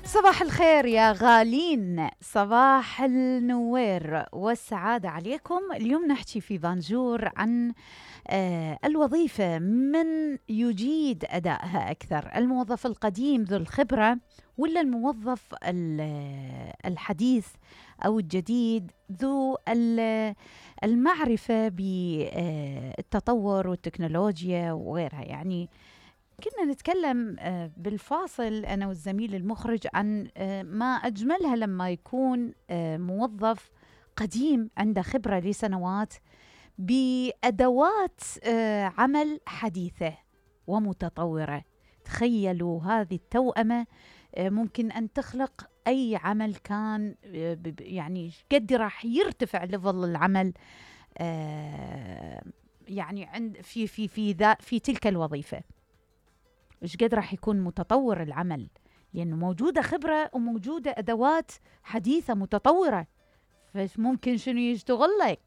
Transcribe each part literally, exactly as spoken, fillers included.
صباح الخير يا غالين، صباح النوير والسعادة عليكم. اليوم نحكي في بانجور عن آه الوظيفة، من يجيد أدائها أكثر، الموظف القديم ذو الخبرة ولا الموظف الحديث أو الجديد ذو المعرفة بالتطور والتكنولوجيا وغيرها. يعني كنا نتكلم بالفاصل أنا والزميل المخرج عن ما أجملها لما يكون موظف قديم عنده خبرة لسنوات بأدوات عمل حديثة ومتطورة. تخيلوا هذه التوأمة ممكن أن تخلق أي عمل كان، يعني قد راح يرتفع ليفل العمل يعني عند في في في ذا في تلك الوظيفة. إيش قد راح يكون متطور العمل، لأنه موجودة خبرة وموجودة أدوات حديثة متطورة، فممكن شنو يشتغل لك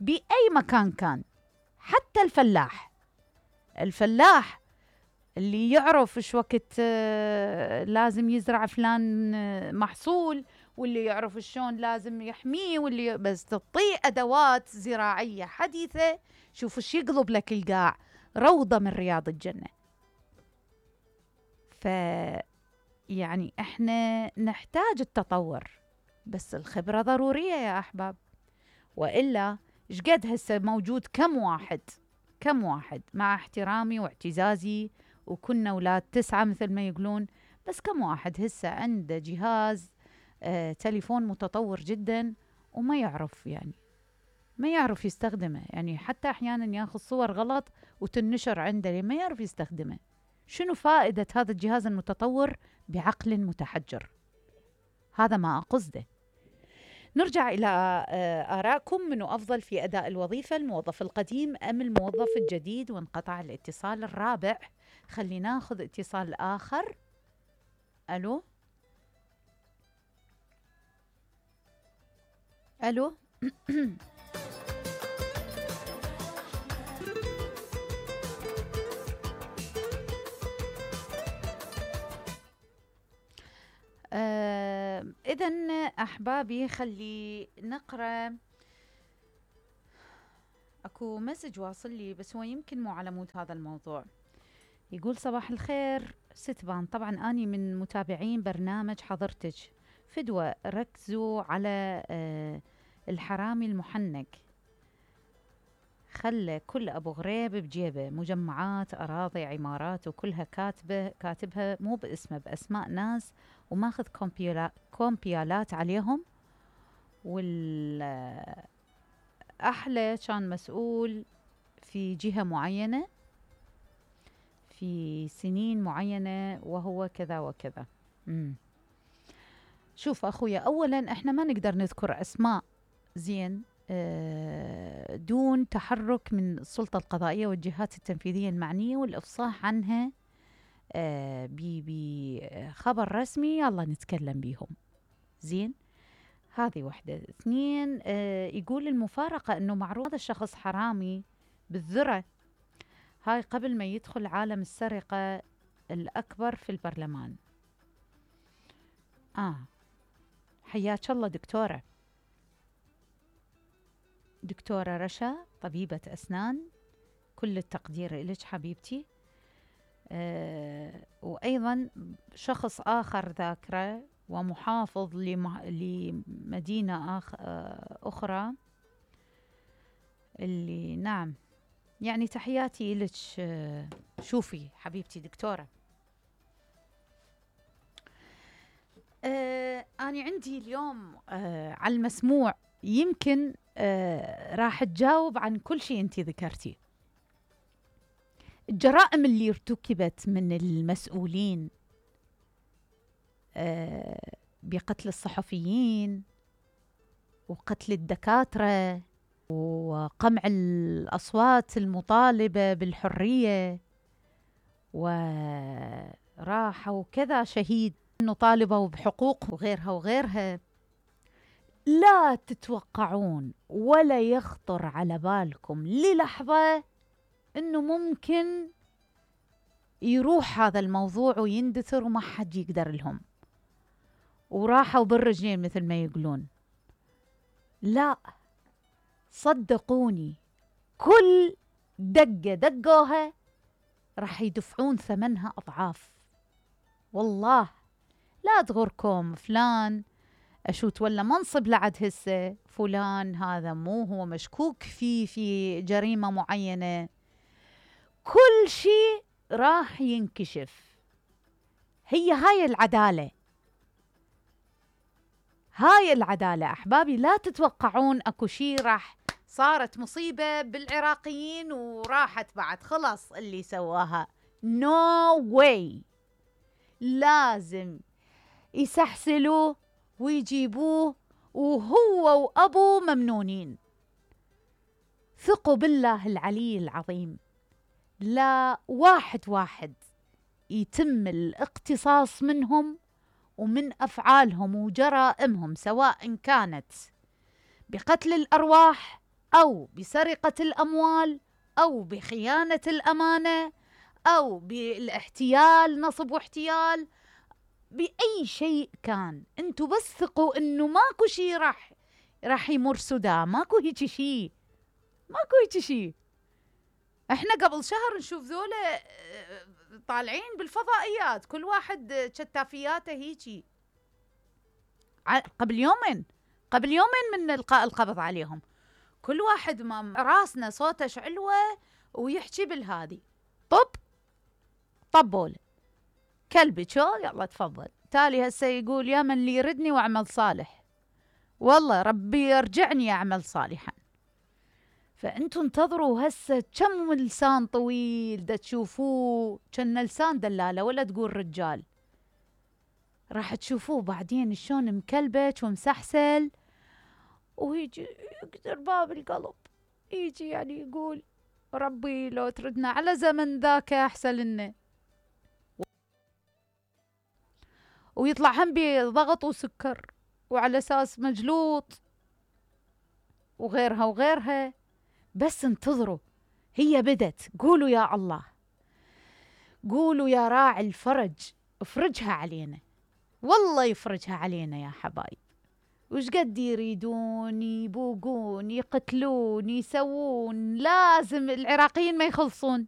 بأي مكان كان. حتى الفلاح الفلاح اللي يعرف إيش وقت لازم يزرع فلان محصول، واللي يعرف شلون لازم يحميه، واللي بس تعطيه أدوات زراعية حديثة، شوف إيش يقلب لك القاع، روضة من رياض الجنة. ف يعني احنا نحتاج التطور، بس الخبرة ضرورية يا أحباب، وإلا إيش قد هسه موجود كم واحد كم واحد مع احترامي واعتزازي، وكنا أولاد تسعة مثل ما يقولون، بس كم واحد هسه عنده جهاز آه تليفون متطور جدا وما يعرف يعني ما يعرف يستخدمه. يعني حتى أحيانا ياخذ صور غلط وتنشر عنده ليه ما يعرف يستخدمه. شنو فائدة هذا الجهاز المتطور بعقل متحجر؟ هذا ما أقصده. نرجع إلى آرائكم، منو أفضل في أداء الوظيفة، الموظف القديم أم الموظف الجديد؟ وانقطع الاتصال الرابع. خلينا ناخذ اتصال آخر. ألو ألو آه إذن أحبابي، خلي نقرأ. أكو مسج واصل لي بس هو يمكن مو على مود هذا الموضوع. يقول صباح الخير ستبان، طبعا أني من متابعين برنامج حضرتك. فدوة ركزوا على آه الحرامي المحنك، خلى كل أبو غريب بجيبه مجمعات أراضي عمارات وكلها كاتبة كاتبها مو باسمه بأسماء ناس، وماخذ كومبيالا كومبيالات عليهم. والأحلى كان مسؤول في جهة معينة في سنين معينة وهو كذا وكذا. مم. شوف أخويا، أولا احنا ما نقدر نذكر أسماء زين دون تحرك من السلطة القضائية والجهات التنفيذية المعنية والإفصاح عنها بخبر رسمي، يلا نتكلم بيهم زين. هذه واحدة. اثنين، يقول المفارقة أنه معروض هذا الشخص حرامي بالذرة، هاي قبل ما يدخل عالم السرقة الأكبر في البرلمان. آه حياك الله دكتورة دكتورة رشا، طبيبة أسنان، كل التقدير إليك حبيبتي. أه وأيضا شخص آخر ذاكرة ومحافظ لمدينة آخ أخرى اللي نعم، يعني تحياتي إليك. أه شوفي حبيبتي دكتورة، أه أنا عندي اليوم أه على المسموع، يمكن آه راح تجاوب عن كل شيء انتي ذكرتي. الجرائم اللي ارتكبت من المسؤولين آه بقتل الصحفيين وقتل الدكاترة وقمع الأصوات المطالبة بالحرية، وراحوا كذا شهيد انه طالبوا بحقوق وغيرها وغيرها. لا تتوقعون ولا يخطر على بالكم للحظة انه ممكن يروح هذا الموضوع ويندثر وما حد يقدر لهم. وراحوا بالرجلين مثل ما يقولون. لا، صدقوني كل دقة دقوها راح يدفعون ثمنها أضعاف. والله لا تغركم فلان أشوت ولا منصب لعد هسه، فلان هذا مو هو مشكوك فيه في جريمة معينة، كل شيء راح ينكشف. هي هاي العدالة، هاي العدالة أحبابي. لا تتوقعون أكو شيء راح صارت مصيبة بالعراقيين وراحت بعد خلص اللي سواها. no way. لازم يسحسلوه ويجيبوه وهو وأبوه ممنونين. ثقوا بالله العلي العظيم، لا واحد واحد يتم الاقتصاص منهم ومن أفعالهم وجرائمهم، سواء كانت بقتل الأرواح أو بسرقة الأموال أو بخيانة الأمانة أو بالاحتيال، نصب واحتيال، بأي شيء كان. انتوا بس ثقوا انه ماكو شيء راح راح يمر سدى، ماكو هيك شيء، ماكو هيك شيء. احنا قبل شهر نشوف ذولا طالعين بالفضائيات، كل واحد شتافياته هيجي. قبل يومين قبل يومين من القاء القبض عليهم، كل واحد ما راسنا صوته شعلوه ويحكي بالهادي. طب طبول كلبي شو، يلا تفضل. تالي هسه يقول يا من لي يردني واعمل صالح، والله ربي يرجعني اعمل صالحا. فانتوا انتظروا هسه كم لسان طويل دا تشوفوه، كان لسان دلاله ولا تقول رجال، راح تشوفوه بعدين شلون مكلبج ومسحسل، ويجي يقدر باب القلب، يجي يعني يقول ربي لو تردنا على زمن ذاك احسن لنا، ويطلع هم بضغط وسكر وعلى اساس مجلوط وغيرها وغيرها. بس انتظروا، هي بدت. قولوا يا الله، قولوا يا راعي الفرج افرجها علينا، والله يفرجها علينا يا حبايب. وش قد يريدون يبوقون يقتلون يسوون، لازم العراقيين ما يخلصون.